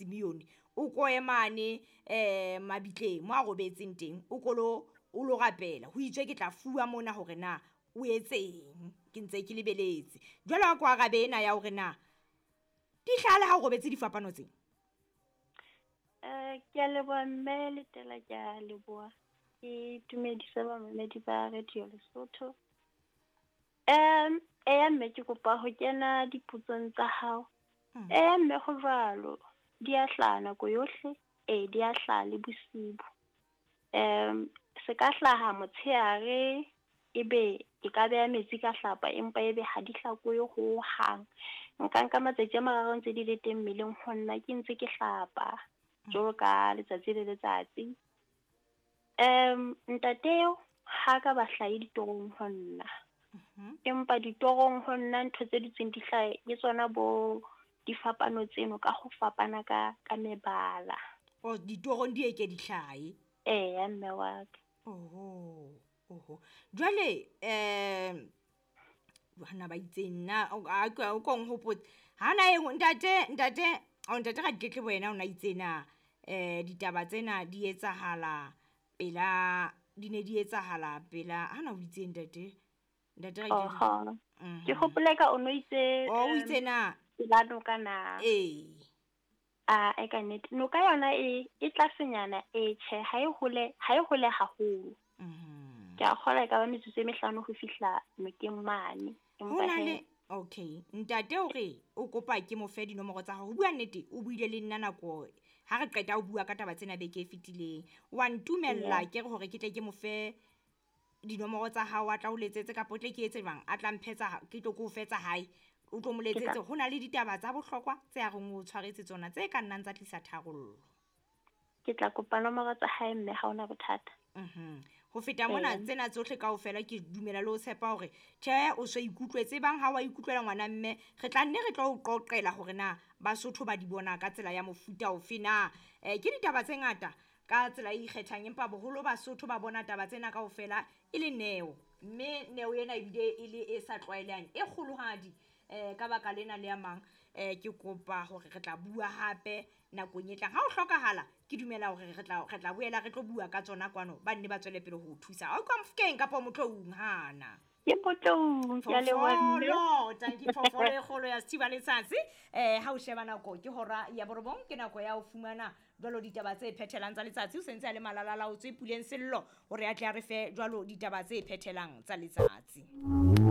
Simeone o ko emane mabitleng mo a robetseng teng, o kolo o lo rapela. Ho itswe ke tla fuwa mona hore na o etseng, ke ntse ke lebeletse. Jwale a ko arabe ena ya hore na di hlaha le ha o robetse difapano tse. Ke a leboha mme Letela, ke a leboha. Ke dumedise bamamedi ba Radio Lesotho. Eya mme ke kopa ho kena dipotsong tsa hao. Eya mme ho jwalo, di a hlaha nako yohle, ee di a hlaha le bosibu. Se ka hlaha motshehare, ebe ke ka beha metsi ka hlapa, empa ebe ha di hlakohe ho hang. Nka nka matsatsi a mararo ntse di le teng mmeleng ho nna ke ntse ke hlapa jwalo ka letsatsi le letsatsi. Ntate eo ha ka ba hlahe ditorong ho nna. Empa ditorong ho nna ntho tse dutseng di hlahe ke tsona bo difapano tseno ka ho fapana ka mebala. O ditorong di eke di hlahe? Eya mme wa ka. Oho, oho. Jwale bana ba itseng nna o ko nhopotse. Hana e ntate ntate o ntate Raditlebe wena o na itse na ditaba tsena di etsahala pela, di ne di etsahala pela hana o itse ntate. Ntate Raditlebe. Oho. Ke hopola ka o no itse, O itse na? Pela noka na? Ee. A e ka nnete. Noka yona e tlasenyana, e tjhe, ha e hole, ha e hole haholo. Ke a kgolwa e ka ba metsotso e mehlano ho fihla nokeng mane. Ho na le okay, ntate o re o kopa ke mo fe dinomoro tsa hao. Ho bua nnete, o buile le nna nako ha re qeta ho bua ka taba tsena beke e fetileng. Wa ntumella ke re hore ke tle ke mo fe dinomoro tsa hao, a tla o letsetse kapa o tle ke etse jwang? A tla mphetsa, ke tlo ke o fetsa hae. O tlo mo letsetse. Ho na le ditaba tsa bohlokwa tse a reng o tshwaretse tsona tse ka nnang tsa tlisa tharollo. Ke tla kopa nomoro tsa hae mme ha hona bothata. Ho feta mona tsena tsohle kaofela ke dumela le ho tshepa hore tjhe o so ikutlwetse, bang ha wa ikutlwela ngwana mme re tla nne re tlo o qoqela hore na Basotho ba di bona ka tsela ya mofuta ofe na. Ke ditaba tse ngata ka tsela e ikgethang, empa boholo Basotho ba bona taba tsena kaofela e le neo, mme neo ena ebile e le e sa tlwaelehang, e kgolohadi. Ka baka lena le a mang, ke kopa hore re tla bua hape nakong e tlang. Ha o hlokahala, ke dumela hore re tla boela re tlo bua ka tsona kwano, ba nne ba tswele pele ho o thusa. Ha o ka Mofokeng kapa Motloung hana? Ke Motloung, ke a leboha mme. Phoofolo, tanki phoofolo e kgolo ya Sethiba Letsatsi. Ha o sheba nako ke hora ya borobong, ke nako ya ho fumana jwalo ditaba tse phethelang tsa letsatsi. O sentse a le malala, o tswe puleng sello hore a tle a re fe jwalo ditaba tse phethelang tsa letsatsi.